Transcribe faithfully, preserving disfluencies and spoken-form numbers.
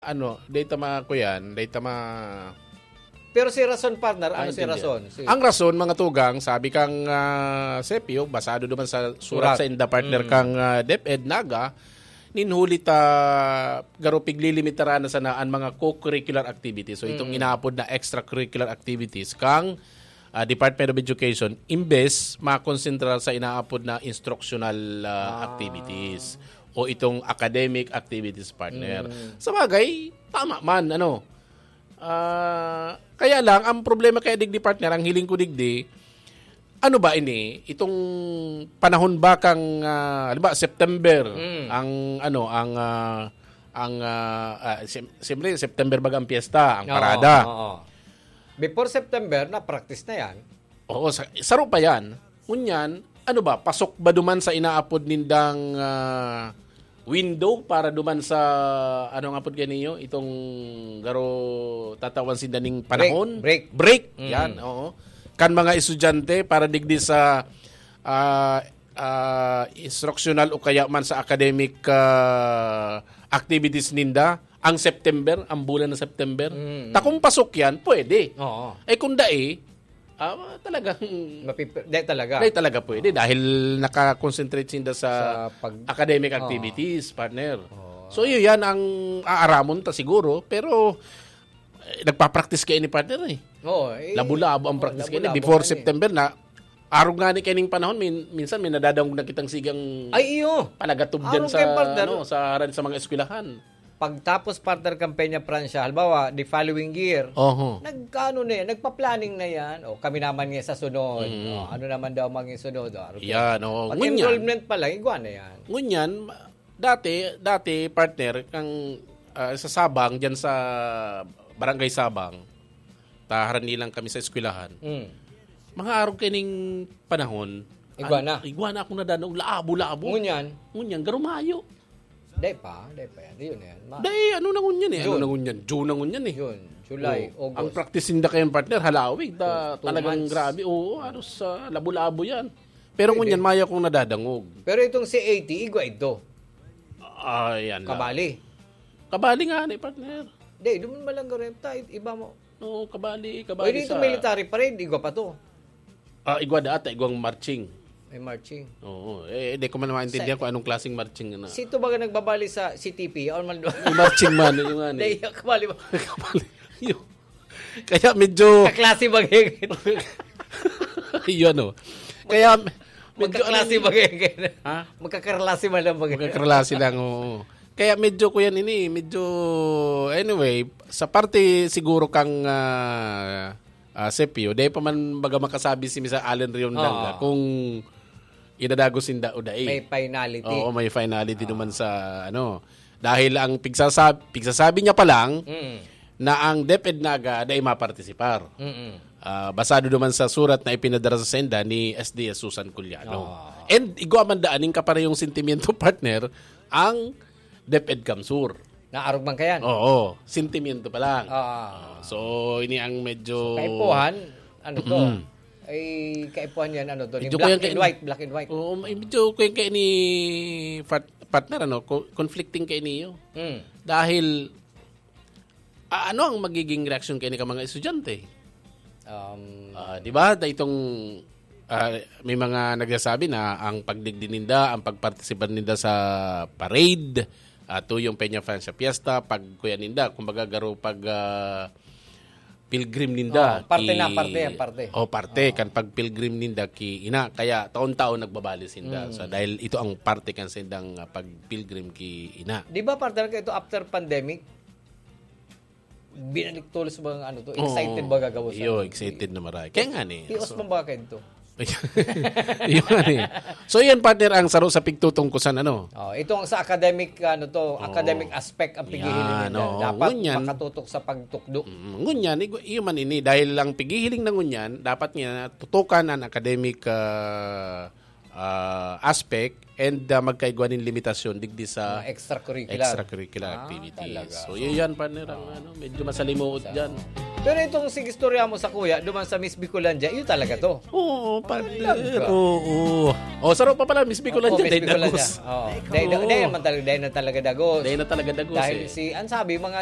ano, data ma kuyan, data ma Pero si rason, partner, ano si Maintindihan. Rason? Si... Ang rason, mga tugang, sabi kang uh, Sepio, basado naman sa surat Surat. sa inda partner Mm. kang uh, DepEd Naga, ninhuli ta garo piglilimitaran na sana ang mga co-curricular activities. So itong Mm. inaapod na extracurricular activities kang uh, Department of Education, imbes makonsentrar sa inaapod na instructional uh, Ah. activities o itong academic activities partner. Mm. Sa bagay, tama man, ano. Ah, kaya lang, ang problema kaya digdi partner, ang hiling ko digdi, ano ba ini? Itong panahon ba kang, ah, halimbawa, September, Mm. ang, ano, ang, ah, ang, ah, ah, sim- siyempre, September baga ang piyesta, ang Oo, parada. oo. Before September, na-practice na yan. Oo, sa, saro pa yan. Ngunyan, ano ba, pasok ba duman sa inaapod nindang ah, window para duman sa, ano nga pod kaniyo, itong garo tatawan sinda ning panahon? Break. Break, Mm. yan, oo. Kan mga estudyante para digdi sa ah, ah, instructional o kaya man sa academic ah, activities ninda, ang September, ang bulan ng September. Mm. Ta kung pasok yan, pwede. Oo. Eh kung dai, ah, talagang Mapip- Di talaga. Dahil talaga pwede dahil nakakonsentrate sinda sa, Sa pag- academic Oo. activities, partner. Oo. So yun yan ang aaramon ta siguro, pero eh, nagpa-practice kayo ni partner eh. Oo, eh, Labo-labo ang oo, practice kayo. labo-labo Before nga eh. September na, arog nga ni kaining panahon, min, minsan may nadadangog na kitang sigang Ay, iyo. panagatub dyan Arog sa, kayo, partner. Ano, sa haran sa mga eskwelahan. Pagtapos, partner, kampanya Pransya, halimbawa, the following year, Oho. nagkaano na yan, nagpa-planning na yan. O, kami naman nga sa sunod. Mm. O, ano naman daw maging sunod? O, ano Yan, oo. Ngunyan, Pag-enrollment pa lang, igwa na yan. ngunyan, dati, dati, partner, kang ah, sa Sabang, dyan sa Barangay Sabang, taharan nilang kami sa eskwelahan. Mm. Mga arog kaining panahon, Igwa na. Igwa na akong nadanaw, labo-labo. Ngunyan, Ngunyan, garumayo. Day pa, day pa yan. Yun na yan. Ma- Dahil ano na ngunyan eh? Ano June. na ngunyan? June na ngunyan eh. Yun, July, Oo. August. Ang practice ninda kayo, partner, halawig. Ta, Two- two talagang months. grabe. Oo, halos sa labo-labo yan. Pero Pwede. Ngunyan, maya kong nadadangog. Pero itong C A T, igwa ito. Ah, yan lang. Kabali. Kabali nga ni partner. Day, duman malang garenta, iba mo. Oo, kabali, Pwede kabali itong sa... military parade, igwa pa to. Ah, igwa daat, igwang marching. May marching. Oo, eh, di ko man maintindihan Sa- kung anong klaseng marching na. Sito ba nga nagbabali sa C T P? Or man Yung marching man, yung nga Day, ni. Kabali ba? Kabali. Yun. Kaya medyo, Kaklase ba ngayon? yun ano. Kaya, medyo Magkaklase ano, ba ngayon? Ha? Magkakarlase man lang ba ngayon? Magkakarlase lang, oo. Kaya medyo ko yan ini, medyo, anyway, sa parte siguro kang ah, ah, Sepio, dahil pa man baga makasabi si Mister Allen Riondang Oo. ah, kung idadagos sinda o dai. May finality. Oo, may finality naman sa ano. Dahil ang pigsasab- pigsasabi niya pa lang Mm. na ang DepEd Naga dai mapartisipar. Mm-mm. Ah, basado naman sa surat na ipinadara sa senda ni S D S Susan Culiano. Ah. And igwa man daan ning kaparehong sentimiento, partner, ang DepEd CamSur. Naarog man kayan? Oo, sentimiento pa lang. Ah. So, ini ang medyo... Kaipuhan, ano to? Mm. Ay, kaipuhan yan, ano to? Medyo Black kaya and kay- white, black and white. Oo, medyo kaya kaya ni part- partner, ano, co- conflicting kay niyo. Mm. Dahil, ah, ano ang magiging reaksyon kay ni ka mga estudyante? Um, Ah, di ba? Da itong ah, may mga nagsasabi na ang pagdigdi ninda, ang pagpartisipa ninda sa parade, ah, tuyong Peña Francia Fiesta, pag kuya ninda, kumbaga garo pag ah, pilgrim ninda. Oh, parte na, parte yan, parte. Oh, parte kan pag pilgrim ninda ki ina. Kaya taon-taon nagbabali sinda. Mm. So, dahil ito ang parte kan sindang ah, pag pilgrim ki ina. Di ba, partner, ka ito after pandemic? Binalik tulos ba ang ano to? Oo. Excited ba gagawin? Iyo, excited na maray. Kaya nga ni. Pios So, man ba kayo ito? Yun nga ni. So yan, partner, ang saro sa pigtutungkusan, ano? Oh, ito ang sa academic, ano to, Oo. academic aspect ang pighihiling Yan, nila. oo. Dapat Ngunyan. Makatutok sa pagtukdo. Mm, ngunyan, igu- iyo man ini, dahil lang pighihiling na ngunyan, dapat niya tutukan ang academic ah, ah, aspect and ah, magkaigwa nin limitasyon digdi sa Mga extracurricular. extracurricular Ah, activities. talaga. So, yun yan, partner, ang ano, medyo masalimuot dyan. Pero itong sige istorya mo sa kuya, duman sa Miss Bicolandia, yun talaga to. Oo, partner. talaga. Oo. O, saro pa pala, Miss Bicolandia, Oo, Miss dahil Bicolandia. dagos. Oo. Dahil, dahil, Oo. dahil naman talaga, dahil na talaga dagos. Dahil na talaga dagos Dahil eh. si, ang sabi, mga